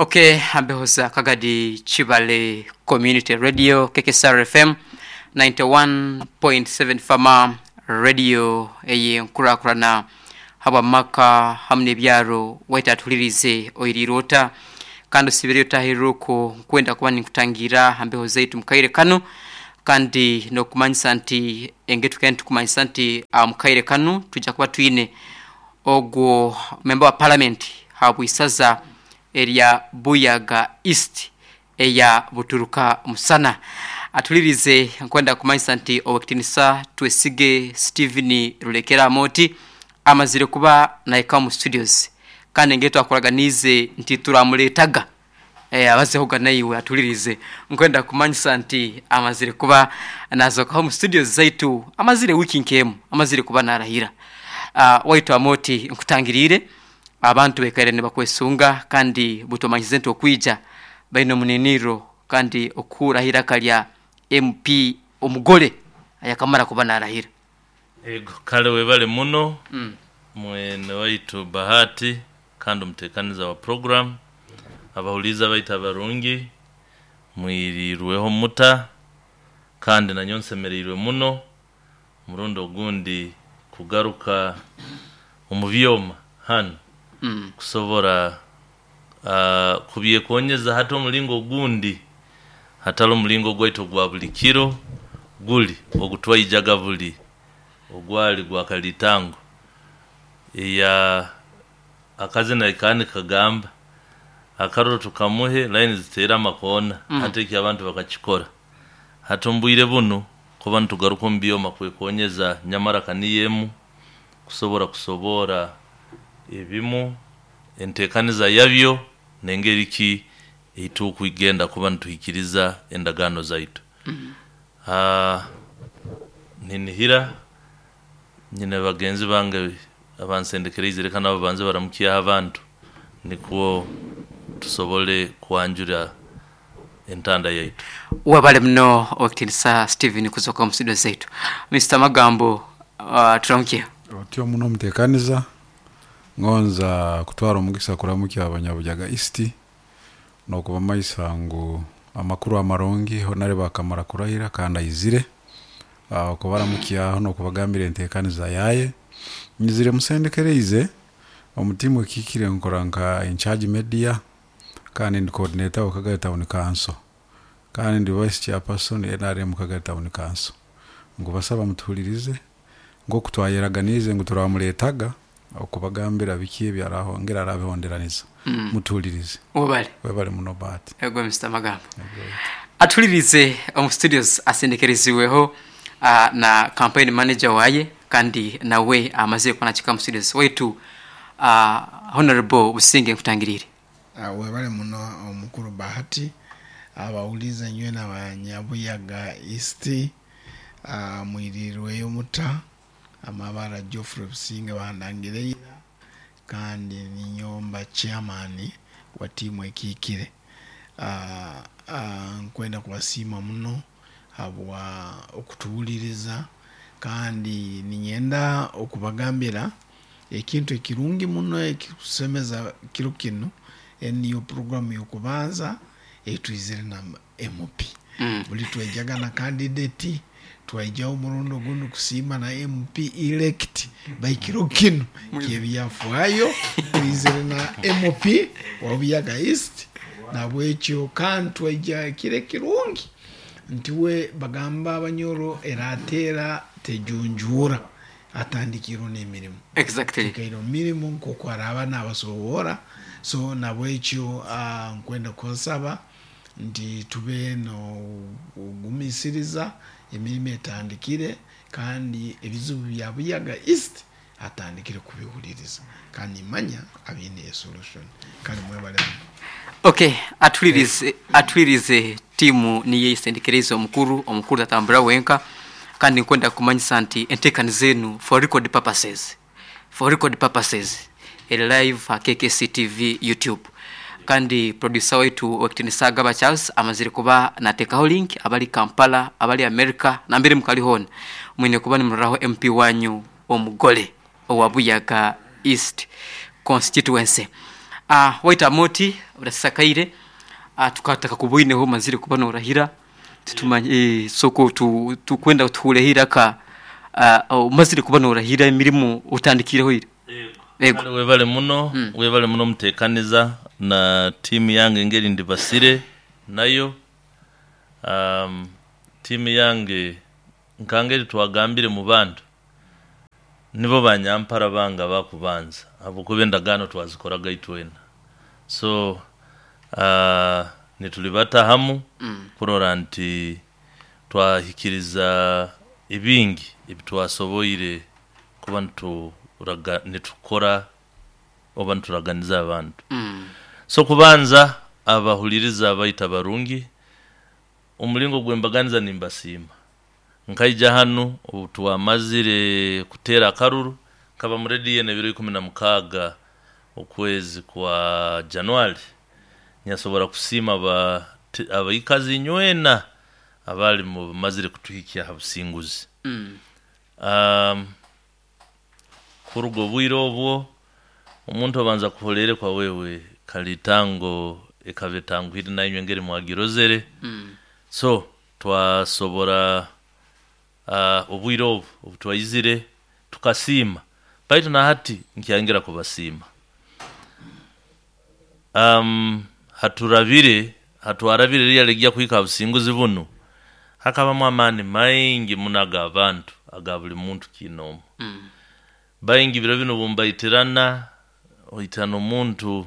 Ok Ambehoza Kagadi Kibale Community Radio KKSR FM 91.7 Fama Radio ey'enkurakurana habw'amaka hamu n'ebyaro waita atuhuliriize oiriire ota kandi osiibire otahirire okwo nkwenda kuba ninkutangiira ha mbeho zaitu mukaire kanu kandi n'okumanyisa nti engeri tukaire nitukumanyisa nti mukaire kanu twija kuba twine Ogwo memba wa palamenti habw'isaza erya Buyaga East eya Buturuka Musana atulirize nkwenda kumanyisa nti Owekitinisa Twesige Steven Rulekera Amooti amazire kuba nahika omu studios kandi engeri twakuraganiize nti turamuretaga abazehoga naiwe atulirize nkwenda kumanyisa nti amazire kuba nazokaho omu studios zaitu amazire wiiki nk'emu amazire kuba narahira. Waitu Amooti nkutangiriire abantu baikaire nibakwesunga kandi butomanyize nti okwija baine omuniniiro kandi okuhurraho eiraka lya MP omugore ayakamara kuba narahira. Ego kale webale muno mwene waitu Bahati kandi omutekaniza wa program, abahuliiza baitu abarungi mwirirweho muta kandi nanyowe nsemereirwe muno omurundi ogundi kugaruka omu byoma hanu kusobora kubyekonyeza hati omulingo ogundi hatali omulingo gwaitu ogwa buli kiro guli ogutwaijaga buli ogwali gwa kalitango eya akazina aka nikagamba akaruru tukamuhe line ziteere amakoona hati eki abantu bakakikora hati omu bwire bunu kuba nitugaruka omu byoma kwekonyeza nyamara ka niyo emu kusobora kusoboora ebimu enteekaniza yabyo n'engeri ki ei turukugenda kuba nituhikiriza endagaano zaitu. Ninihira nyine bagenzi bange abansendekereize leka nabo babanze baramukyeho abantu nukwo tusobole kwanjura entanda yaitu. Webale muno Owekitinisa Steven kuzoka omu studio zaitu. Mister Magambo turamukyeho. Otyo muno omutekaniza, ngonza kutwara omugisa kuramukya abanyabujaga East nokubamaisa ngu amakuru amarungi honare bakamara kurahira kandi aizire okubaramukyaho nokubagambira entekaniza yaye. Nyizire musendekereize omu tiimu ekihikire nkora nka incharge media kandi ndi coordinator wa Kagari Town Council kandi ndi vice chairperson NRM Kagari Town Council. Nkubasaba mutuhuririze nk'oku twayeraganiize ngu turamureetaga okubagambira biki ebi arahongera arabihonderaniza. Mutuhuririze. Webale. Webale muno Bahati. Ego Mister Magambo. Atuhuririze omu studios asendekereziibweho na campaign manager waaye kandi nawe amazire kuba nakika omu studios waitu Honourable Businge nkutangiriire. Webale muno omukuru Bahati, abawulize nywena abanyabuyaga East mwirirweyo muta? Amabara Geoffrey Businge bandangire ira kandi ninyowe mba chairman wa tiimu ekiikire. Nkwenda kubasiima muno habwa okutuhuliriza kandi niinyenda okubagambira ekintu ekirungi muno ekirikusemeza kiro kinu, enu niyo puroguramu y'okubanza ei twizire na MP. Buri twaijaga na kandideti, twaijaho omurundi ogundi kusiima na MP elect, baitu kiro kinu ky'ebyafaayo twizire na MP wa Buyaga East, nahabwekyo kandi twaija kiro ekirungi nti we bagamba Abanyoro erateera tejunjuura, atandikiirwe n'emirimo. Exactly. Twikaire omu mirimo nk'oku araaba naabasoboora, so nahabwekyo nkwenda kubasaba nti tube n'okugumisiriza, emirimo etandikire kandi ebizibu bya Buyaga East atandikire kubihuririza kandi nimanya abiine esolution. Kale mwebale muno. Ok atuhuririze atuhuririze tiimu niyo esendekereize omukuru, omukuru tatambura wenka kandi nkwenda kukumanyisa nti enteekaniza enu for record purposes for record purposes eri live aha KKC TV YouTube kandi producer waitu Owekitinisa Agaba Charles amazire kuba nateekaho link abari Kampala, abari America nambere mukari hoona mwine kuba nimuroraho MP wanyu omugore owa Buyaga East Constituency. Waita Amooti orasisakaire tukatakakuboineho omazire kuba norahira titumanye sooka tukwenda tuhureho eiraka omazire kuba norahira emirimo otandikireho ira. Ego. Kale webale muno, webale muno mutekaniza na tiimu yange engeri ndibasire nayo. Tiimu yange nkangeri twagambire mu bantu nibo banyampara bange abakubanza ahabwokuba endagaano twazikoraga itwena. So nitulibata hamu kurora nti twahikiriza ebingi ebitwasoboire kuba nitukora oba nituraganiza abantu. So kubanza abahuliriza baitu abarungi, omulingo gw'embaganiza nimbasiima. Nkaija hanu obu twamazire kuteera akaruru, nkaba mu rediyo enu ebiro 16 okwezi kwa January, nyasobora kusiima abaikazi inywena abaali mumazire kutuhikya ha businguzi. Kuruga obwire obwo, omuntu obanza kuholeere kwa wewe kalitango ekaba etanguhire nainywe engeri mwagirozere. So twasobora obwire obu obutwaizire tukasiima baitu na hati nkyayongera kubasiima. Haturabire, hatwarabire ririya rigya kuhika ha businguzi bunu, hakabamu amaani maingi muno ag'abantu, aga buli muntu kiinoomu. Baingi biro binu obu mbaitirana, oitana omuntu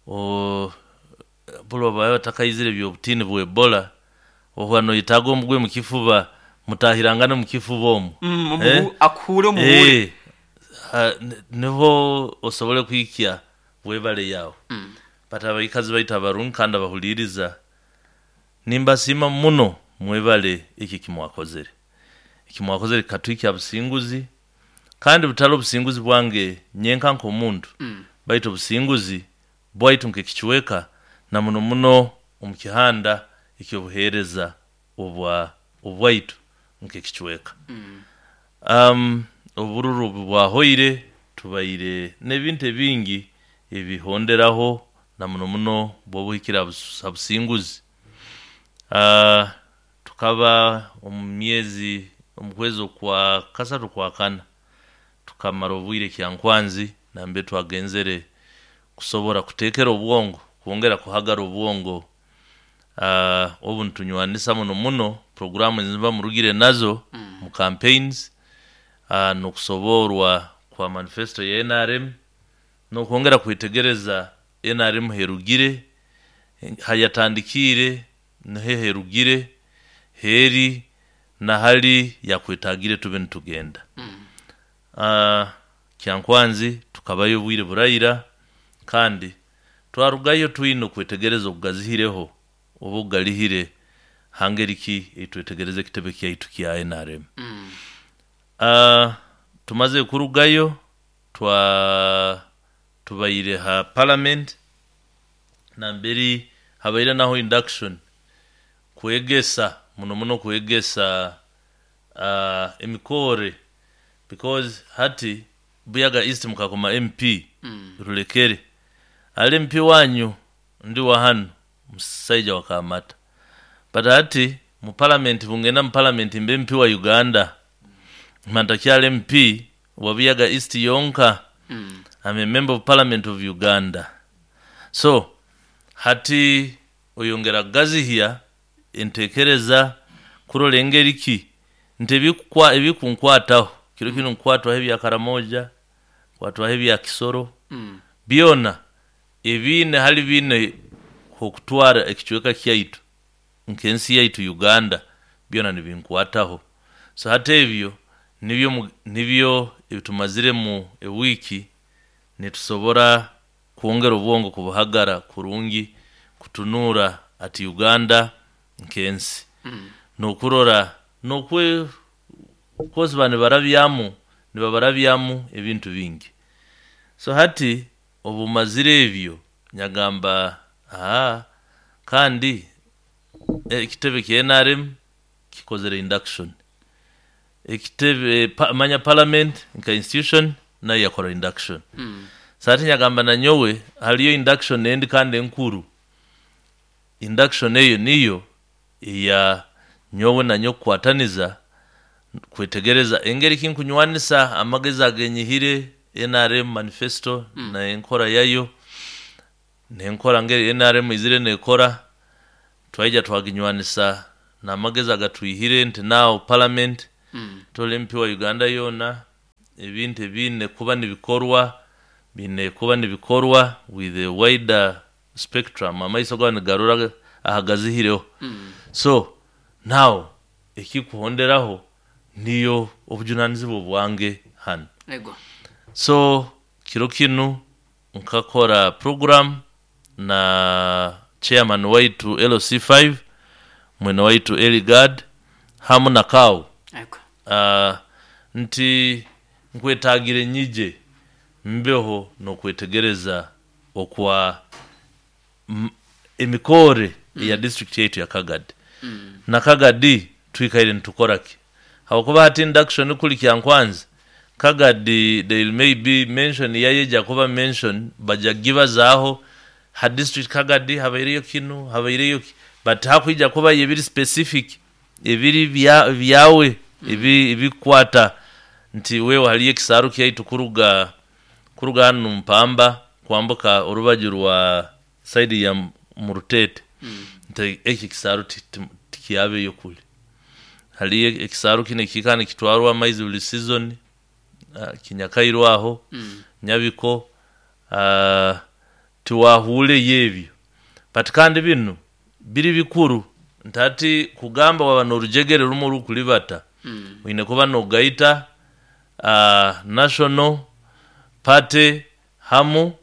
buli obu baba batakaizire eby'obutiini bwa Ebola, ohuura noyetaaga omugwe mu kifuba, mutaahirangane omu kifuba omu. Akuhuure omuhuure. Niho osobole kuhikya webale yaawe. But abaikazi baitu abarungi kandi abahuliiriza, nimbasiima muno mwebale eki eki mwakozere. Eki mwakozere kikatuhikya ha businguzi, kandi butali obusinguzi bwange nyenka nk'omuntu, baitu obusinguzi bwaitu nk'ekicweka na muno muno omu kihanda eky'obuheereza obwa obwaitu nk'ekicweka. Obururu obu bwahoire, tubaire n'ebintu ebingi ebihonderaho na muno muno bw'obuhikire ha businguzi. Tukaba omu myezi, omu kwezi okwa kasatu okwakana, tukamara obwire Kyankwanzi nambere twagenzere kusobora kuteekera obwongo, kwongera kuhagara obwongo obu nitunywanisa muno muno puroguraamu ezimuba murugire nazo mu campaigns n'okusoboorwa kwa manifesto ya nrm n'okwongera kwetegereza nrm herugire, hayatandikiire, niho herugire, heri na hali yakwetaagire tube nitugenda. Kyankwanzi tukabayo obwire buraira kandi twarugayo twine okwetegereza okugazihireho oba okugalihire ha ngeri ki ei twetegereza ekitebe kyaitu kya nrm. Tumazire kurugayo twa tubaire ha Parliament namberi habaire naho induction kwegesa muno muno kwegesa emikoore because hati Buyaga East mukakoma MP Rulekere ali MP wanyu ndi wa hanu musaija wa Kamata but hati mu Parliament bungenda mu Parliament mbe MP wa Uganda mba ntakyali MP wa Buyaga East yonka am a member of Parliament of Uganda so hati oyongera kugazihya entekereza kurora engeri ki nti ebikunkwataho, kiro kinu nkukwatwaho ebya Karamoja, nkwatwaho ebya Kisoro, byona ebiine hali biine h'okutwara ekicweka kyaitu nk'ensi yaitu Uganda byona nibinkwataho. So hati ebyo nibyo nibyo ebitumaziremu ewiiki nitusobora kwongera obwongo kubuhagara kurungi kutunuura ati Uganda nk'ensi n'okurora n'okwe coz baba nibarabyamu nibabarabyamu ebintu bingi. So hati obu mazire ebyo nyagamba ahaa kandi ekitebe kya nrm kikozere induction, ekitebe manya parliament nka institution nayo yakora induction. So hati nyagamba nanyowe hariyo induction endi kandi enkuru. Induction eyo niyo eya nyowe nanyo kukwataniza kwetegereza engeri kinkunywanisa amagezi agenyihire NRM manifesto na enkora yayo nenkora ngeri NRM izire nekora, twaija twaginywanisa n'amagezi agatwihire nti now parliament toli MP wa Uganda yoona, ebintu ebiine kuba nibikorwa biine kuba nibikorwa with a wider spectrum, amaiso gaba nigarora ahagazihireho. So now ekikuhonderaho niyo obujunanizibwa bwange hanu. Ego. So kiro kinu nkakora program na chairman waitu LC5 mwene waitu Eligard hamu na Kau. Ego. Nti nkwetagire nyije mbeho n'okwetegereza okwa emikore ya district yaitu ya Kagadi. Na Kagadi twikaire nitukora ki? Habwokuba hati induction kuli Kyankwanzi, Kagadi they may be mention yayeja kuba mention baja gibazaaho ha district Kagadi habaireyo kinu habaireyo ki, but hakwija kuba ebiri specific ebiri byawe ebikwata nti wewe haliyo ekisaaru kyaitu kuruga hanu Mpamba kwambuka orubaju rwa side ya Murutete. Nti eki ekisaaru tikyabeyo kuli. Haliyo ekisaaru kinu ekikaba nikitwarwa amaizi buli season, kinyakairwe aho, Nyabiko, tiwahuureyo ebyo. But kandi binu biri bikuru nti hati kugamba waba n'orujegere rumwe orukuribata, oine kuba nogaita National Party hamu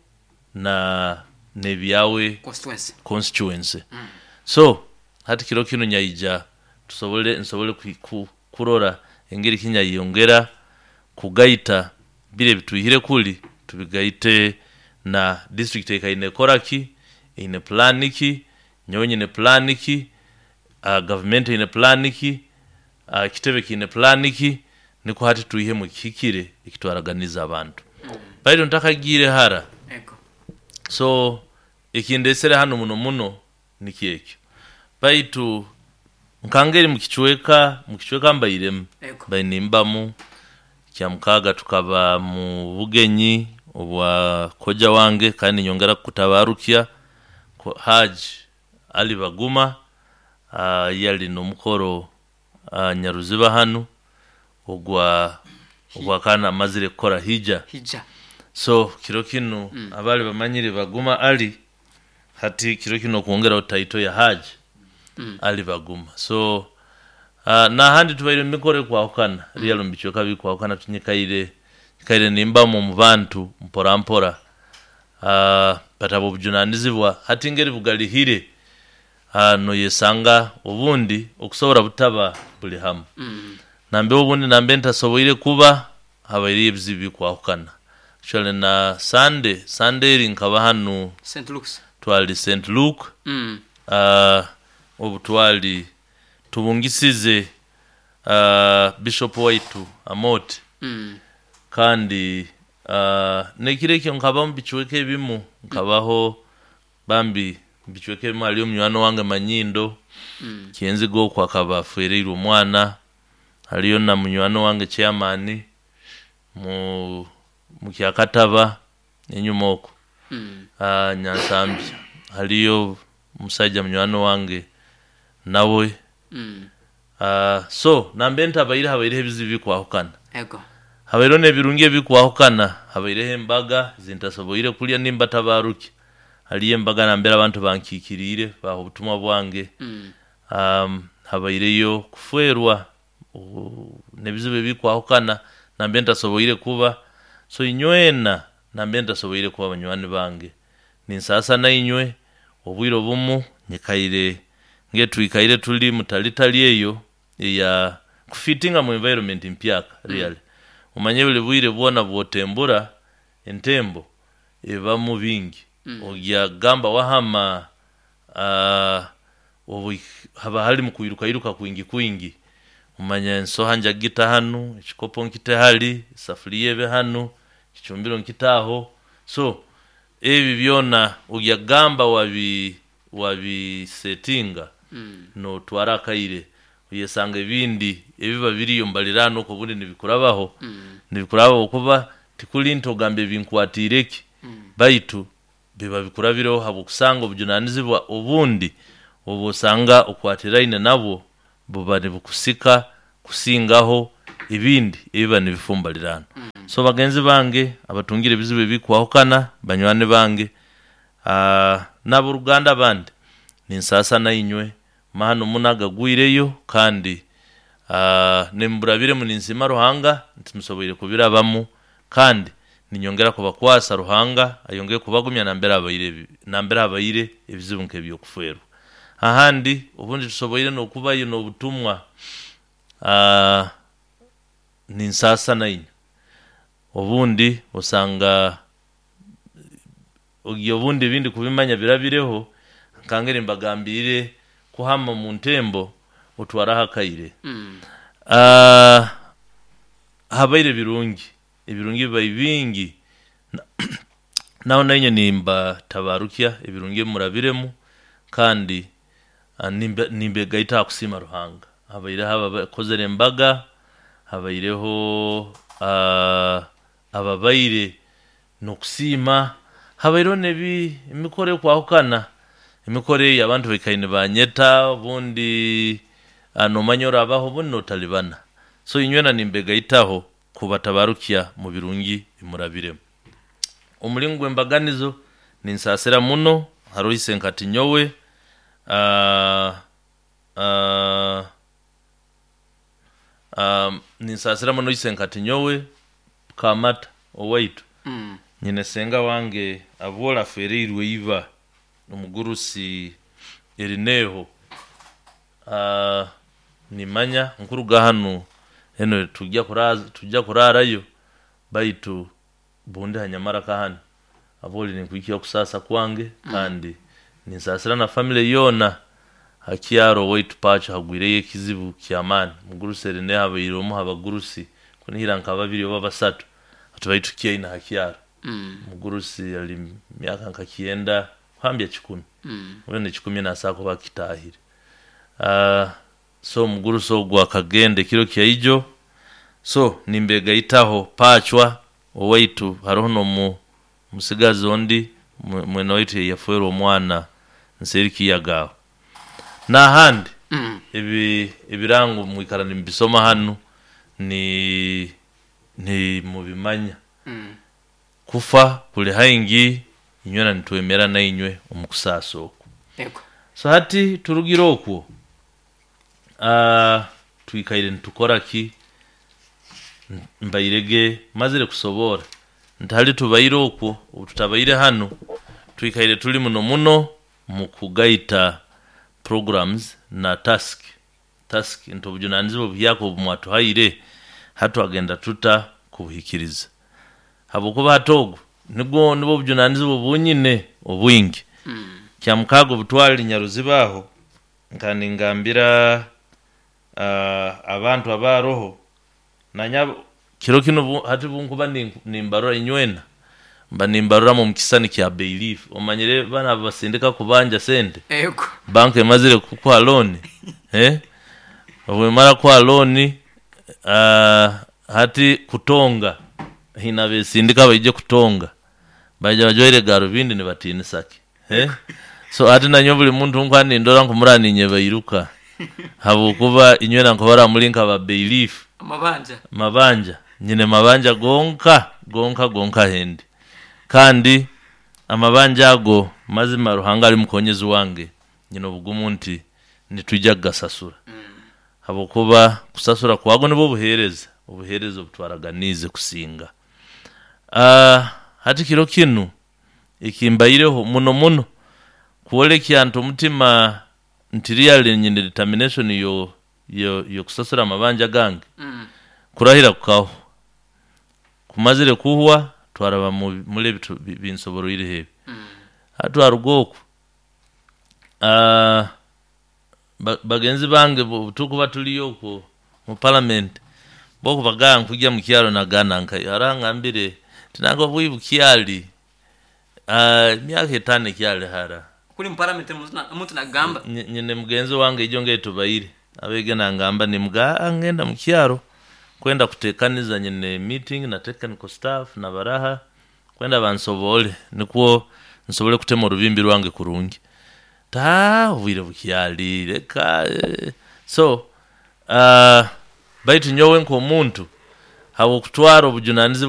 na n'ebyawe Constituency. Constituency. So hati kiro kinu nyaija tusobole nsobole kurora engeri kinyayongera kugaita bire bitwihire kuli tubigaite na district ekaine ekora ki, eine plan ki, nyowe nyine plan ki, government eine plan ki, ekitebe kiine plan ki, nikwo hati twihemu ekihikire ekitwaraganiza abantu. Baitu ntakagiire hara. Ego. So ekindesere hanu muno muno nikyo ekyo. Baitu nkangeri mukicweka mbairemu. Ego. Mbaire nimbamu Kyamukaga tukaba mu bugenyi obwa koja wange kandi nyongera kutabarukya Haji Ali Baguma, yali n'omukoro Nyaruziba hanu ogwa kana amazire kukora hija. Hija. So kiro kinu abali bamanyire Baguma Ali hati kiro kinu okwongeraho taito ya Haji Ali Baguma. So n'ahandi tubaire mu mikoro ekwahukana, real mu bicweka bikwahukana tunyikaire nyikaire nimbamu omu bantu mpora mpora. But abo obujunanizibwa hati ngeri bugarihire, noyesanga obundi okusobora butaba buli hamu. Nambe obundi nambe ntasoboire kuba habaireyo ebizibu bikwahukana. Actually na Sunday eri nkaba hanu St. Luke's. Twali St. Luke. Obu twali tubungisize Bishop waitu Amoti. Kandi nekiro ekyo nkaba mu bicweka ebimu nkabaho bambi mu bicweka ebimu haliyo munywani wange Manyindo. Kyenziga okwo akaba afereirwe omwana, haliyo na munywani wange chairman mu Kyakataba enyuma okwo. Nyansambya haliyo omusaija munywani wange nawe. So nambe ntabaire habaireho ebizibu bikwahukana. Ego. Habaireho n'ebirungi ebikwahukana, habaireho embaga zintasoboire kulya nimba tabaruki. Haliyo embaga nambere abantu bankikiriire baha obutumwa bwange. Habaireyo kufwerwa n'ebizibu ebikwahukana nambe ntasoboire kuba. So inywena nambe ntasoboire kuba banywani bange. Ninsaasa nainywe obwire obumu nyikaire ngetwikaire tuli mutalitali eyo eya kufitinga mu environment mpyaka really. Omanye buli bwire bwona bwotembura entembo ebamu bingi. Ogya gamba wahama, obu haba hali mu kwirukairuka kwingi kwingi. Omanya ensoha njagita hanu, ekikopo nkite hali, esafuriya ebe hanu, ekicumbiro nkitaho. So ebi byona ogyagamba wabi wabisetinga notwara akaire, oyesanga ebindi ebiba biriyo mubaliraanwa okwo obundi nibikurabaho, nibikurabaho kuba tikuri nti ogambe binkwatiire ki, baitu biba bikurabireho ahabw'okusanga obujunanizibwa obundi obu osanga okwatiraine nabwo buba nibukusika kusingaho ebindi ebiba nibifa omu baliraanwa. So bagenzi bange abatungire ebizibu ebikwahukana, banywani bange n'aboruganda abandi, ninsaasa nainywe mahano muno agagwireyo kandi nimuburabiremu ninsiima Ruhanga nti musoboire kubirabamu kandi ninyongera kubakwasa Ruhanga ayongere kubagumya nambere habaire nambere habaire ebizibu nk'eby'okufeerwa. Ahandi obundi tusoboire n'okubayo n'obutumwa ninsaasa nainywe. Obundi osanga obundi ebindi kubimanya birabireho nkangeri mbagambiire kuhama omu ntembo otwaraho akaire. Habaire birungi, ebirungi bibaire bingi naho nainye nimbatabarukya ebirungi ebi murabiremu kandi nimbegaita aha kusiima Ruhanga. Habaireho abakozire embaga, habaireho ababaire n'okusiima, habaireho n'ebi emikoro ekwahukana. Emikoro eyo abantu baikaire nibanyeta obundi noomanya orabaho obundi nootaribana. So inywena nimbegaitaho kubatabarukya mu birungi bi murabiremu. Omuringo gw'embaganizo ninsaasira muno haroho isenkati nyowe ninsaasira muno isenkati nyowe Kamata owaitu. Nyine senga wange abwola afeereirwe iba omugurusi Erineho. Nimanya nkuruga hanu eno twija kuraarayo baitu bundi hanyamara kahanu abwoli ninkwikya okusaasa kwange kandi ninsaasira na famire yoona. Ha kyaro owaitu Pacho hagwireyo ekizibu ky'amaani. Omugurusi Erineho abaire omu ha bagurusi kunihira nka babiri oba basatu atubaire tukyaine ha kyaro. Omugurusi ali myaka nka kyenda kuhambya kikumi, mbwenu ekikumi naasobola kuba akitaahire. So omugurusi ogwo akagenda ekiro kyaijo, so nimbegaitaho Pachwa owaitu haroho n'omusigazi ondi mwene waitu eyafwerwa omwana nseeri Kiyaga aho. N'ahandi ebi ebirango mwikara nimubisoma hanu ni nimubimanya. Kufa kuli haingi inywena nitwemera nainywe omu kusaasa okwo. So hati turugire okwo, twikaire nitukora ki? Mbaire ge mazire kusoboora nti hali tubaire okwo obu tutabaire hanu, twikaire tuli muno muno mu kugaita programs na task, task nti obujunanizibwa obuhyaka obu mwatuhaire hati twagenda tuta kubuhikiriza? Habwokuba hati ogwo nigwo nibwo obujunanizibwa obu nyine obwingi. Kyamukaaga obu twali Nyaruziba aho, nkaba ningambira abantu abaroho nanye kiro kinu hati obunkuba nimbarora inywena, mba nimbaroramu omu kisisani kya bailiff. Omanyire banu ababasindika kubanja sente, banka emazire kukuha looni, obu emara kukuha looni hati kutonga, haine abesindika baije kutonga, baija bajwaire garubindi nibatiinisa ki. So hati nanye buli muntu ou nkuba nindora nkumurora ninyebairuka habwokuba inywena nkubarora muri nka ba bailiff. Mabanja. Nyine mabanja gonka, gonka, gonka ahendi. Kandi amabanja ago mazima Ruhanga ari mukonyezi wange, nyine obugumu nti nitwija kugasasura. Habwokuba kusasura kwago nibwo buheereza, obuheereza obu twaraganiize kusinga. Hati kiro kinu ekimbaireho muno muno kworekya nti omutima nti really nyine determination yo y'okusasura amabanja gange, kurahira kukahwa. Kumazire kuhwa twaraba muri ebi binsoboroireho ebi. Hati twaruga okwo, bagenzi bange obu turikuba turiyo okwo mu palamenti, bo kubagamba ngu kwija mu kyaro nagamba nkayo. Hariho angambire nti nangwa bwibukyari. Emyaka etano ekyali hara. Kuri mu parliament omuntu nagamba. Nyine mugenzi wange ijo ngetubaire abege nangamba nimuga, "Ah, ngenda mukyaro kwenda kutekaniza, nyine meeting na technical staff na baraha kwenda bansobole nikwo nsobole kutema orubimbi rwange kurungi." Ta obwire bukyali reka so baitu nyowe nk'omuntu habwokutwara obujunanizibwa.